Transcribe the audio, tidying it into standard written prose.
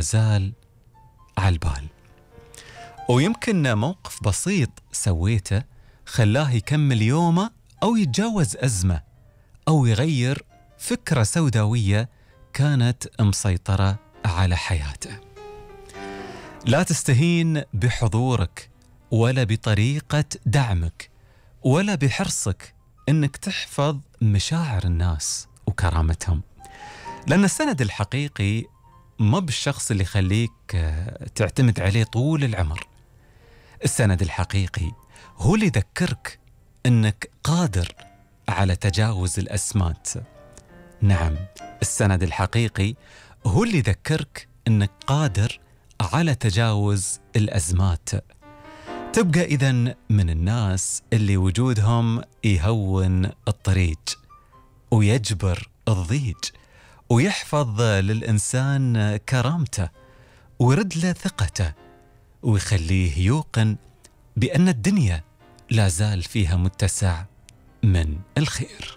زال على البال. ويمكن موقف بسيط سويته خلاه يكمل يومه أو يتجاوز أزمة أو يغير فكرة سوداوية كانت مسيطرة على حياته. لا تستهين بحضورك ولا بطريقة دعمك ولا بحرصك إنك تحفظ مشاعر الناس وكرامتهم، لأن السند الحقيقي ما بالشخص اللي يخليك تعتمد عليه طول العمر. السند الحقيقي هو اللي يذكرك إنك قادر على تجاوز الأزمات. نعم، السند الحقيقي هو اللي يذكرك إنك قادر على تجاوز الأزمات. تبقى إذن من الناس اللي وجودهم يهون الطريق ويجبر الضيج ويحفظ للإنسان كرامته ويرد له ثقته ويخليه يوقن بأن الدنيا لا زال فيها متسع من الخير.